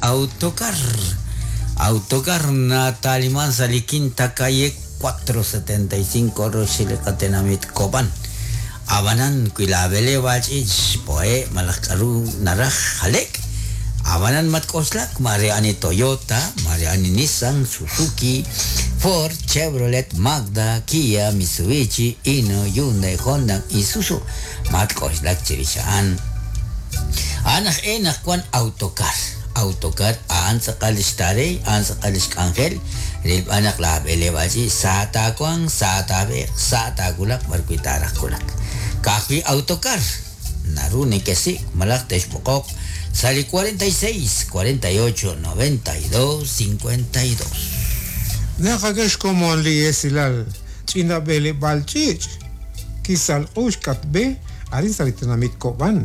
Autocar. Autocar nataliman sa li Quinta Calle 475 roxil li qatenamit Cobán. Ab'anan wi laab'eleeb'aal ch'iich xpo'e' malaj k'a'ru naraj jale'k, ab'anan matk'oxlak, maare ani Toyota, maare ani Nissan, Suzuki, Ford, Chevrolet, Mazda, Kia, Mitsubishi, Hino, Hyundai, Honda, Isuzu, matk'oxlak chirix a'an. A'an aj e naq wan Autocar. Autocar a'an tz'aqal lix tareey, a'an tz'aqal lix k'anjel, rilb'al naq laab'eleeb'aal ch'iich sa taawanq, sa taab'eeq, sa taawulaq b'ar wi' taaraj wulak. Ka'ajwi' Autocar naru nekesik' malaj texb'oqoq sa' li 46 48 92 52. Naqak'e xkomon li esilal ch'ina b'eleb'aal ch'iich' kisalq'u xk'atb'e arin sa' li tenamit Cobán.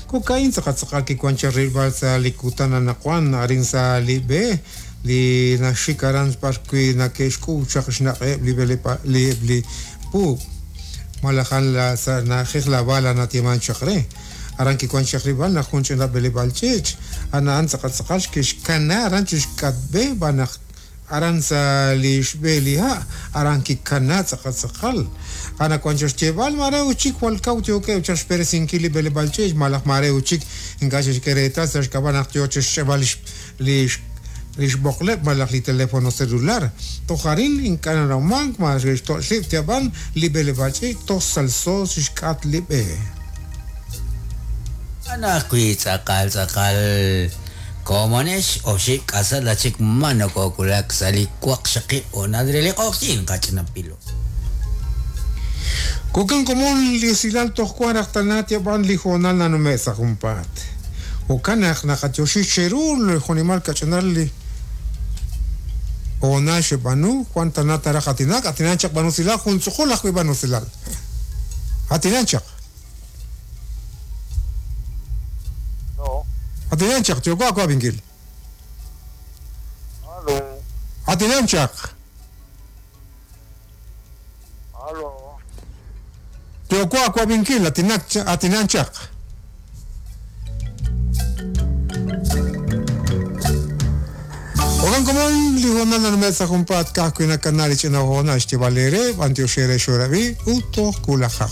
Jo'ka'in tz'aqal tz'aqal kiwan chaq rilb'al sa' li kutan anaqwan arin sa' li b'e li naxik aran b'ar wi' nake'xk'uub' chaq xnaq'eb' li b'eleb'a li eb' li puub' malaj a'an la sa' na'ajej La Bala nayeeman chaq re. Aran kiwan chaq rilb'al naq jun ch'ina b'eleb'aal ch'iich' a'an a'an tz'aqal tz'aqal kixkana aran chi xk'atb'e b'an naq Aran sa' li xb'e li ha', aran kikana tz'aqal tz'aqal. Anaqwan chaq xyeeb'al, maare ut chik jwal kaw yookeb' chaq xb'eresinkil li b'eleb'aal ch'iich' malaj maare ut chik ink'a' xe'xk'e reetal sa' xk'ab'a' naq yoo chaq xch'eb'al li xb'oqleb' malaj li telefono celular. Toj arin ink'a' nanawmank ma xe'xtoch' rib' ab'an li b'eleb'aal ch'iich' toj salso chixk'atq li b'e. Anaqwi' tz'aqal tz'aqal Komonex, oxib' k'asal achik ma nokowulak sa' li waqxaqib' hoonal re li q'oqyink qach'ina pilo. Jo'kan komon li esilal toj wan raj tana tyab'an li hoonal nanume' sa' junpaat. Jo'kan naq naqatyoxi cheru li jo'nimal kach'inal li hoonal xeb'aanu, wan tana taraj aatinak, aatinan chaq b'an usilal, jun tz'uqul ajwi' b'an usilal. Aatinan chaq. Atinan chaq, yooko aawab'inkil. Atinan chaq. Yooko aawab'inkil, atinan chaq. Jo'kan komon, li hoonal nanume' sa' junpaat ka'ajwi' nakana li ch'ina hoonal xyeeb'al eere, b'antiox eere xoo'rab'i ut toj wulajaq.